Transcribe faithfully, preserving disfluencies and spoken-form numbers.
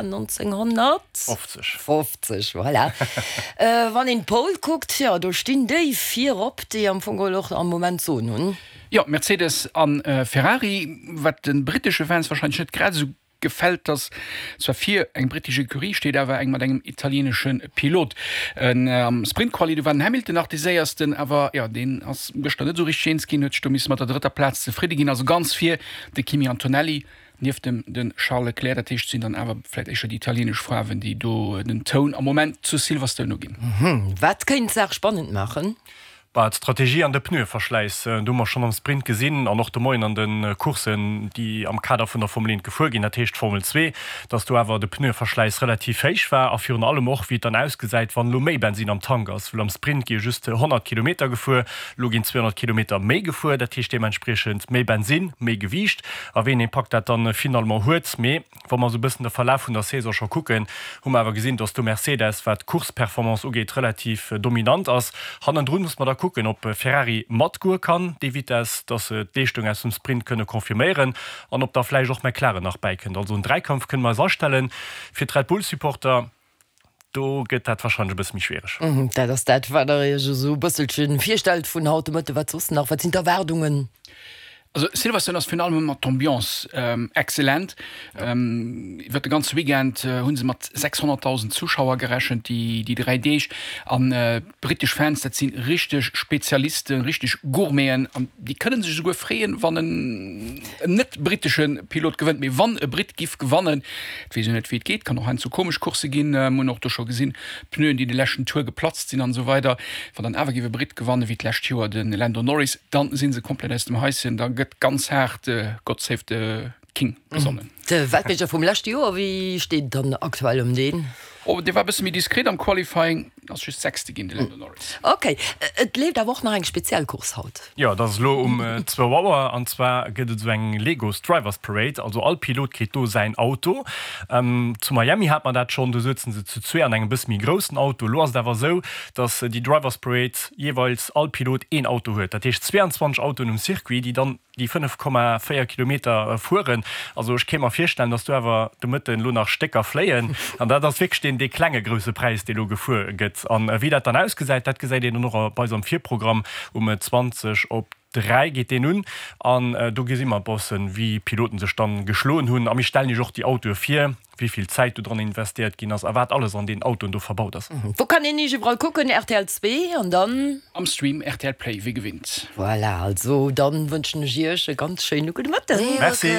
nonzénghonnertfofzeg. Fofzeg, voilà. Wann een d'Pole kuckt, jo, do stinn déi virop, déi am Fong geholl och am Moment d'Soen hunn. Jo, Mercedes a Ferrari, wat de brittesche Fans warscheinlech net grad esou gefält, dass zwar vir eng brittesch Ecurie steet, awer eng mat engem italieenesche Pilot. Am Sprint-Quali, do war den Hamilton nach dee Séiersten, awer jo, deen ass gëschter net esou richteg eens ginn, huet sech do misse mat der drëtter Plaz zefridde ginn. Also ganz vir de Kimi Antonelli, nieft em de Charles Leclerc. Dat heescht, et sinn dann awer vläicht éischter déi italieenesch Faarwen, déi do den Toun am Moment zu Silverstone uginn. Wat kéint d'Saach spannend maachen? Bah, d'Strategie an de Pneueverschläiss, do hu mer schonn am Sprint gesinn an och de Moien an de Courssen, déi am Kader vun der Formel eent gefuer ginn, dat heescht Formel zwee, dass do awer de Pneueverschläiss relativ héich war a virun allem och, wéi et dann ausgesäit, wann elo méi Bensin am Tank ass, well am Sprint gi jo just honnert Kilometer gefuer, elo ginn zweehonnert Kilometer méi gefuer, dat heescht deementspriechend méi Bensin, méi Gewiicht a wéi een Impakt dat dann finalement huet. Mee wa mer esou e bëssen de Verlaf vun der Saison scho kucken, hu mer awer gesinn, dass do Mercedes, wat d'Course-Performance ugeet, relativ dominant ass. Hannendrun muss mer da kucken, ob Ferrari matgoe kann déi Vitess, dass se d'Leeschtung aus dem Sprint kënne confirméieren an ob da vläicht och McLaren nach bäikënnt. Also en Dräikampf kënne mer eis astellen. Fir d'Red Bull-Supporter, do gëtt dat warscheinlech e bësse méi schwiereg. Dat ass dat, wat Der Iech esou e bësselche virstellt vun haut de Mëtten. Wat soss nach? Wat sinn d'Erwaardungen? Also Silverstone ass virun allem ëmmer d'Ambiance excellent. Iwwer de ganze Weekend hu se mat sechshonnertdausend Zuschauer gerechent, déi déi dräi Deeg. An d'brittesch Fans, dat si richteg Spezialisten, richteg Gourmeten an déi kënne sech esouguer freeën, wann en net-brittesche Pilot gewënnt. Mee wann e Britt giff gewannen, et weess een net wéi et geet, kann och heiansdo komesch Coursse ginn, mir hunn och do scho gesinn, Pneuen, déi de leschten Tour geplatzt sinn an esou weider. Wann dann awer giff e Britt gewannen, wéi d'lescht Joer de Lando Norris, dann si se komplett aus dem Haischen. Da gëtt ganz haart God save the King gesongen. De Weltmeeschter vum leschte Joer, wéi steet et dann aktuell ëm deen? Oh, dee war e bësse méi diskret am Qualifying, ass just Sechste ginn, de Lando Norris. Ok, et leeft awer och nach eng speziell Course haut. Jo, dat ass elo um zwou Auer an zwar gëtt et esou eng Legos Drivers Parade, also all Pilot kritt do säin Auto. Zu Miami hat mer dat schonn, do souzen se zu zwee an engem bësse méi groussen Auto. Elo ass et awer esou, datt déi Drivers Parade jeeweils all Pilot een Auto huet. Dat heescht zweeanzwanzeg Autoen um Circuit, déi dann déi fënnef Komma véier Kilometer fueren. Also ech kéint mer virstellen, datt do awer de Mëtten elo nach Stécker fléien. An dat ass wierklech deen, dee klenge Grousse Präis, dee elo gefuer gëtt. An wéi dat dann ausgesäit, dat gesäit een dann och bei eis am Virprogramm. Um zwanzeg op dräi geet deen un. An do gesi mer e bëssen, wéi d'Piloten sech dann geschloen hunn. A mir stellen iech och déi Autoe vir. Wéi vill Zäit do dran investéiert ginn ass a wat alles an deenen Autoen do verbaut ass. Wou kann een iech iwwerall kucken? Rtl zwee an dann? Am Stream rtl Play wéi gewinnt. Voilà, also dann wënschen ech iech e ganz schéine gudde Mëtten. Merci.